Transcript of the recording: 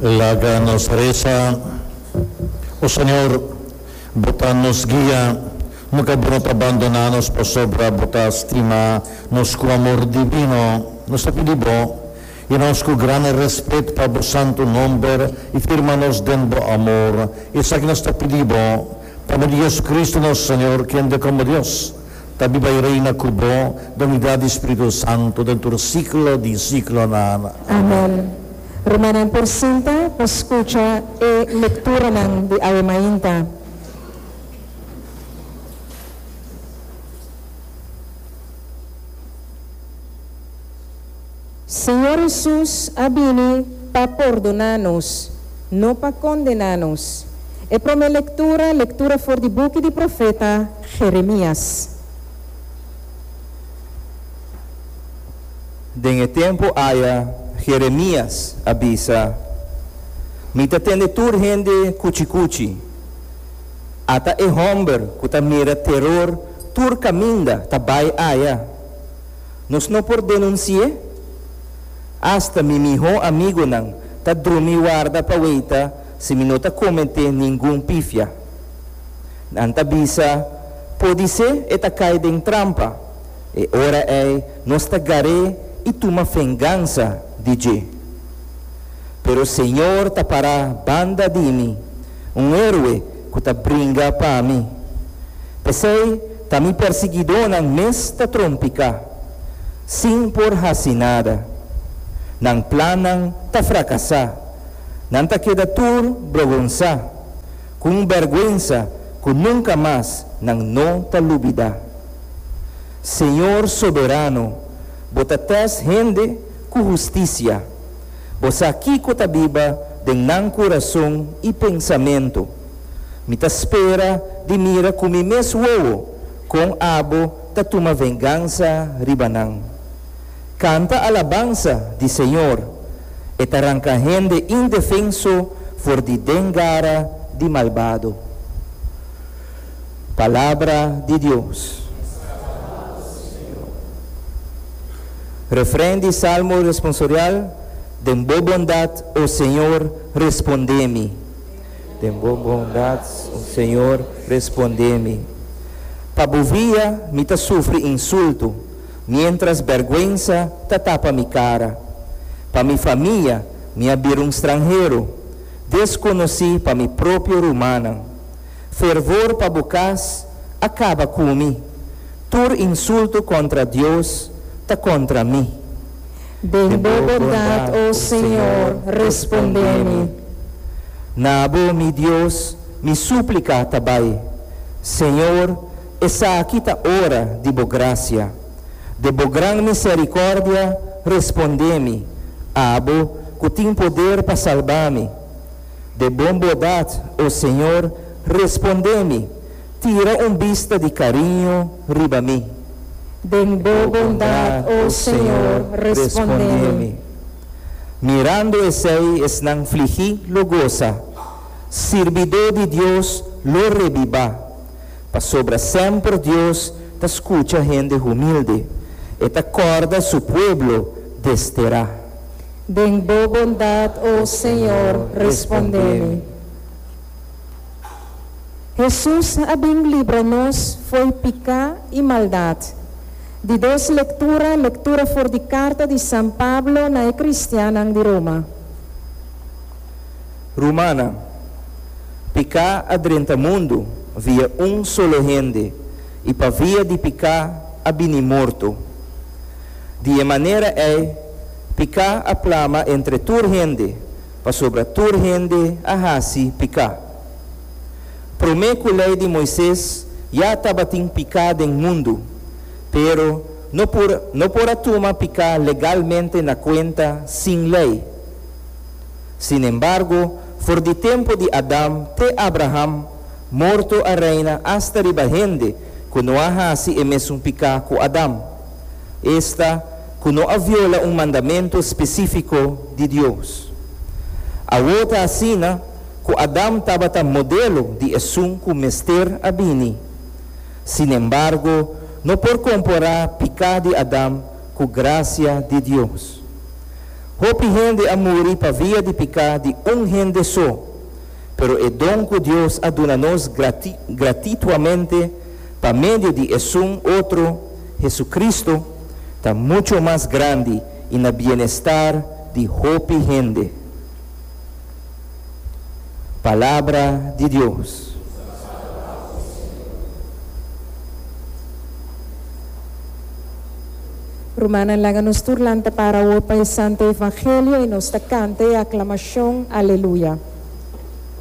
Laga nos resa, O Señor, Bo ta nos guia, nunka Bo no ta bandoná nos pasobra Bo ta stima nos ku amor divino. Nos ta pidi Bo, yena nos ku gran rèspèt pa Bo santu nòmber i firma nos den Bo amor. Esaki nos ta pidi Bo, pa medio di Jesucristo nos Señor, kende komo Dios ta biba i reina ku Bo den unidat di Spiritu Santu den tur siklo di siklonan. Amèn. Rumannan por sinta pa skucha e lekturanan di awe mainta. Señor Hesus a bini pa pordoná nos, no pa kondená nos. E promé lektura, lektura for di buki di profeta Jeremias. Den e tempu aya Jeremias a bisa, Mi ta tende tur hende kuchikuchi. Ata e hòmber ku ta mira teror tur kaminda ta bai aya. Nos no por denunsi'é? Asta mi mihó amigunan ta drumi warda pa weita si mi no ta kometé ningun pifia. Nan ta bisa, Podisé e ta kai den trampa. E ora ei nos ta gar'é i tuma vengansa di dje. Pero Señor ta pará banda di mi, un héroe ku ta bringa pa mi. P'esei ta mi persiguidónan mes ta trompiká, sin por hasi nada. Nan plannan ta frakasá, nan ta keda tur brogonsá, ku un bèrgwensa ku nunka mas nan no ta lubidá. Señor Soberano, bo ta tèst hende ku hustisia. Bo sa kiko ta biba den nan kurason i pensamentu. Mi ta spera di mira ku mi mes wowo kon abo ta tuma vengansa riba nan. Kanta alabansa di Señor, e ta ranka hende indefenso for di den gara di malbado. Palabra di Dios. Refren di Salmo responsorial, Den bo bondat, o Señor, respondé mi. Den bo bondat, o Señor, respondé mi. Pa bo via mi ta sufri insulto, miéntras bèrgwensa ta tapa mi kara. Pa mi famia mi a bira un stranhero, deskonosí pa mi propio rumannan. Fervor pa bo kas a kaba ku mi, tur insulto kontra Dios ta kontra mi. Den bo bondat, o Señor, respondé mi. Na bo, mi Dios, mi súplika ta bai. Señor, esaki ta ora di bo grasia. De bo gran miserikòrdia respondé mi, abo ku tin poder pa salba mi. De bon bodat, o Señor, respondé mi, tira un bista di kariño riba mi. Den bo bondat, o Señor, respondé mi. Mirando esei esnan fligí lo gosa, sirbidó di Dios lo rebibá, pasobra semper Dios ta skucha hende humilde, e ta kòrda su pueblo desterá. Den bo bondat, o Señor, respondé mi. Hesus a bin libra nos fo'i piká i maldat. Di dos lektura, lektura for di karta di San Pablo na e kristiannan di Roma. Rumannan, piká a drenta mundu via un solo hende, i pa via di piká a bini morto. Di e manera ei, piká a plama entre tur hende, pasobra tur hende a hasi piká. Promé ku Lei di Moises ya tabatin piká den mundu, pero no por no por a tuma piká legalmente na kuenta sin lei. Sinembargo, for di tempu di Adam te Abraham, morto a reina asta riba hende ku no a hasi e mesun piká ku Adam, esta, ku no a viola un mandamentu spesífiko di Dios. Awor ta asina ku Adam tabata modelo di esun ku mester a bini. Sinembargo, no por komporá piká di Adam ku grasia di Dios. Hopi hende a muri pa via di piká di un hende so, pero e don ku Dios a duna nos gratituamente pa medio di esun otro, Hesukristu, ta mucho mas grandi i na bienestar di hopi hende. Palabra di Dios. Rumannan, laga nos tur lanta para awor pa e Santo Evangelio i nos ta kanta e aklamashon, Aleluya.